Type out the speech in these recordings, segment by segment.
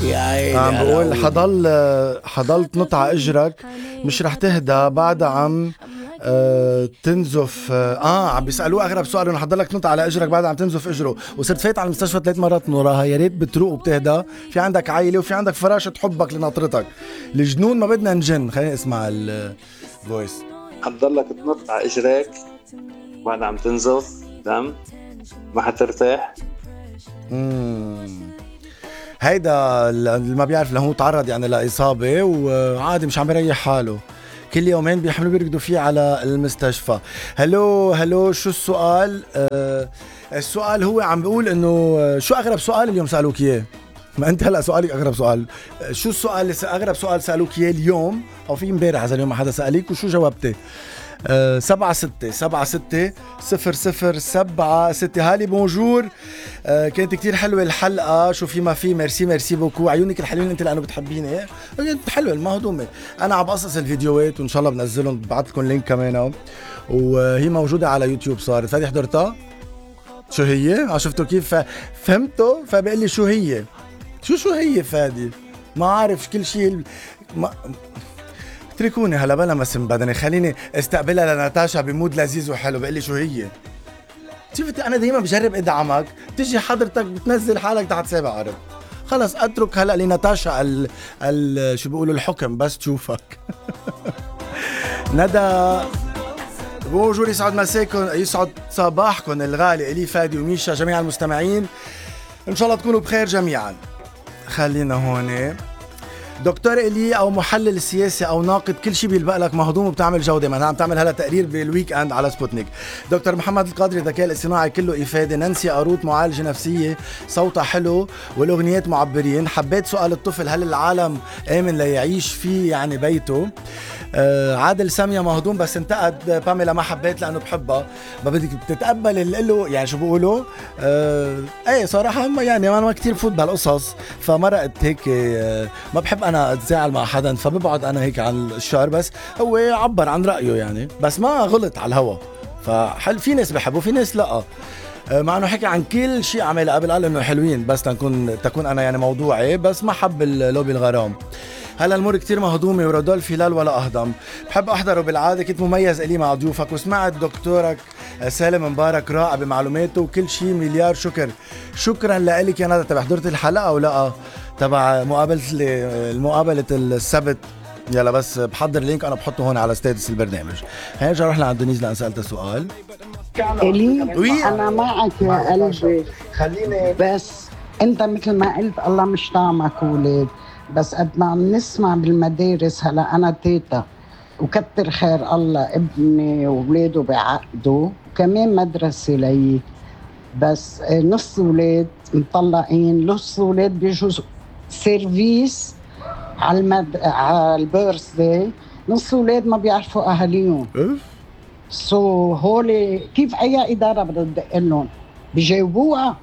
يا عيني عم على بقول عودي. حضل تنط على اجرك مش رح تهدى بعدها عم تنزف. عم بيسألوه اغرب سؤال انه حضلك تنط على اجرك بعدها عم تنزف اجره، وصرت فايت على المستشفى 3 مرات من وراها. يا ريت بتروق وبتهدى، في عندك عائله وفي عندك فراشة حبك لناطرتك. الجنون ما بدنا نجن. خلينا نسمع الفويس. حتضلك تنط على اجرك بعد عم تنزف دم، ما حترتاح. هيدا اللي ما بيعرف لهو تعرض يعني لإصابة وعادي مش عم يريح حاله، كل يومين بيحملوا بيركضوا فيه على المستشفى. هلو شو السؤال؟ السؤال هو عم بيقول انه شو اغرب سؤال اليوم سألوك اياه؟ ما انت هلا سؤالك اغرب سؤال. شو السؤال اللي اغرب سؤال سألوك اياه اليوم او في امبارح اذا اليوم ما حدا سأليك وشو جاوبتي؟ 76760007 هالي بونجور. كانت كتير حلوة الحلقة. شو في ما في. ميرسي بوكو. عيونك الحلوين انت لانه بتحبيني. كانت حلوة المهضومة. انا عم بقصص الفيديوهات وان شاء الله بنزلهم، بعت لكم لينك كمان وهي موجودة على يوتيوب. صارت فادي حضرتها؟ شو هي؟ شفتوا كيف فهمتوا؟ فبقول لي شو هي فادي؟ ما عارف كل شيء. اتركوني هلا بلا مسم بدني، خليني استقبلها لناتاشا بمود لذيذ وحلو. بقلي شو هي؟ شفتي انا دايما بجرب ادعمك، تجي حضرتك بتنزل حالك تحت سابع عرب. خلص اترك هلا لناتاشا شو بيقولوا الحكم بس تشوفك. ندى بونجور، يسعد مساكم، يسعد صباحكم الغالي الي فادي وميشا جميع المستمعين، ان شاء الله تكونوا بخير جميعا. خلينا هون. دكتور إلي أو محلل سياسي أو ناقد كل شيء بيلبق لك مهضوم وبتعمل جودة. ما عم تعمل هلا تقرير بالويك اند على سبوتنيك. دكتور محمد القادري الذكاء الاصطناعي كله إفادة. نانسي قاروت معالجة نفسية صوتها حلو والأغنيات معبرين. حبيت سؤال الطفل هل العالم آمن ليعيش فيه يعني بيته. عادل سامية مهضوم بس انتقد باميلا ما حبيت لأنه بحبها. ما بدك تتقبل اللي له يعني شو بقولوا. ايه صراحة يعني أنا ما كتير بفوت بهالقصص فمرقت هيك. ما بحب أنا أتزاعل مع حدا فببعد أنا هيك عن الشعر، بس هو عبر عن رأيه يعني، بس ما غلط على الهوا. فحل في ناس بحبوا في ناس لأ. مع انه حكي عن كل شيء عمله قبل قال انه حلوين بس تكون انا يعني موضوعي، بس ما حب اللوبي الغرام. هلا الامور كتير مهضومه ورودولف هلال ولا اهضم. بحب احضره بالعاده، كنت مميز الي مع ضيوفك وسمعت دكتورك سالم مبارك رائع بمعلوماته وكل شيء. مليار شكرا لك يا ندى. تبع حضرت الحلقه ولا تبع مقابله السبت؟ يلا بس بحضر لينك انا بحطه هون على ستاتس البرنامج. هنرجع نروح لعند دنيز لان سالتها سؤال. إلي أنا معك يا قلبي، خليني بس أنت مثل ما قلت الله مش طعمك ولاد، بس قد ما عم نسمع بالمدارس هلا أنا تيتا وكتر خير الله ابني وولاده بعقده وكمان مدرسة لي، بس نص ولاد مطلقين، نص ولاد بيجوا سيرفيس على البيرث داي، نص ولاد ما بيعرفوا أهاليهم. هولي كيف أي إدارة بدها تدق لهم؟ بيجاوبوها.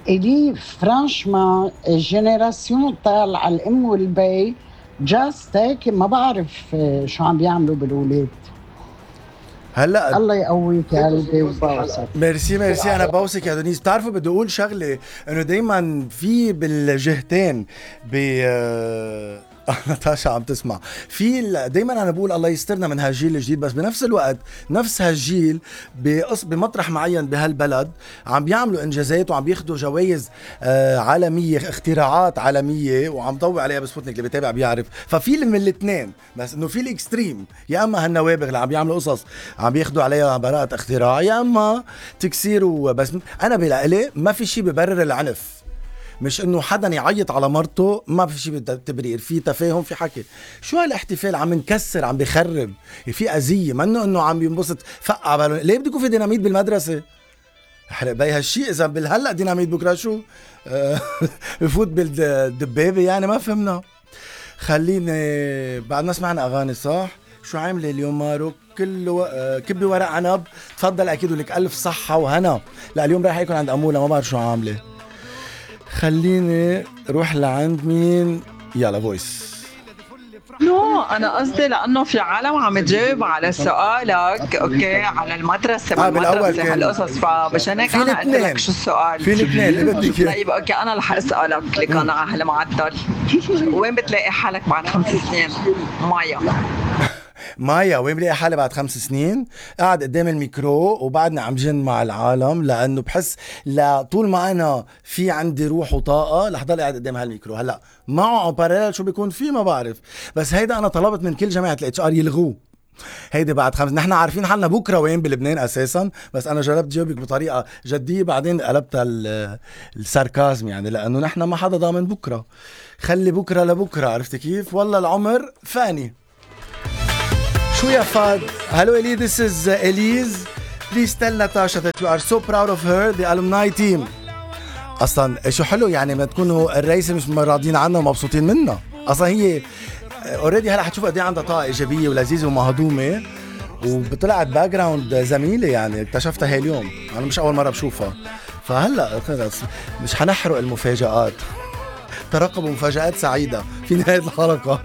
إلي فرانشما الجينيراسيون طالعة الأم والبي جاست هيك ما بعرف شو عم بيعملوا بالولاد. هلا الله يقويك يا قلبي وبوسك. ميرسي انا بوسك يا دونيس. بتعرفوا بدي اقول شغله انه دايما في بالجهتين ناتاشا عم تسمع في دايما انا بقول الله يسترنا من هالجيل الجديد، بس بنفس الوقت نفس هالجيل بمطرح معين بهالبلد عم بيعملوا انجازات وعم بياخدوا جوائز عالميه، اختراعات عالميه، وعم ضوي عليها بسبوتنيك اللي بيتابع بيعرف. ففي من الاثنين، بس انه في الاكستريم، يا اما هالنوابغ اللي عم بيعملوا قصص عم بياخدوا عليها براءه اختراع، يا اما تكسير بس انا بلاقي ما في شيء ببرر العنف. مش انه حدا يعيط على مرته، ما في شيء تبرير، في تفاهم، في حكي. شو هالاحتفال عم نكسر، عم بخرب، في اذيه، منه انه عم بينبسط فقع بالون. ليه بده يكون في ديناميت بالمدرسه؟ حرق بي هالشيء. اذا بالهلا ديناميت بكره شو بفوت بالدبابه يعني ما فهمنا. خليني بعدنا سمعنا اغاني صح. شو عامله اليوم مارو؟ كله كبي ورق عنب. تفضل اكيد ولك الف صحه وهنا. لا اليوم رايح يكون عند اموله، ما بعرف شو عامله. خليني روح لعند مين. يلا فويس. نو انا قصدي لانه في عالم عم تجاوب على سؤالك اوكي على المدرسه بالأول كان هالقصص، فمشان هيك في انا قلت الاثنين. لك شو السؤال. في الاثنين اللي بدك إياه. طيب اوكي انا رح اسالك لك انا على هالمعدل. وين بتلاقي حالك بعد 5 سنين؟ مايا مايا وين بلاقي حالي بعد 5 سنين؟ قاعد قدام الميكرو وبعدني عم جن مع العالم، لانه بحس طول ما انا في عندي روح وطاقه رح ضل قاعد قدام هالميكرو. هلا معه باراليل شو بيكون فيه ما بعرف، بس هيدا انا طلبت من كل جامعه الاتش ار يلغوه. هيدي بعد 5. نحن عارفين حالنا بكره وين بلبنان اساسا، بس انا جربت جاوبك بطريقه جديه بعدين قلبتها الساركازم، يعني لانه نحن ما حدا ضامن بكره. خلي بكره لبكره، عرفتي كيف؟ والله العمر فاني. شو يا فاد؟ Hello Ellie, this is Elise. Please tell Natasha that you are so proud of her, the alumni team. أصلاً شو حلو يعني ما تكونوا الرئيسة مش راضيين عنها ومبسوطين منها. أصلاً هي اوريدي هلا حتشوف قد ايه عندها طاقة إيجابية ولذيذة ومهضومة، وطلعت باك جراوند زميلة يعني اكتشفتها هاي اليوم، أنا مش أول مرة بشوفها. فهلا خلص مش حنحرق المفاجآت. ترقبوا مفاجآت سعيدة في نهاية الحلقة.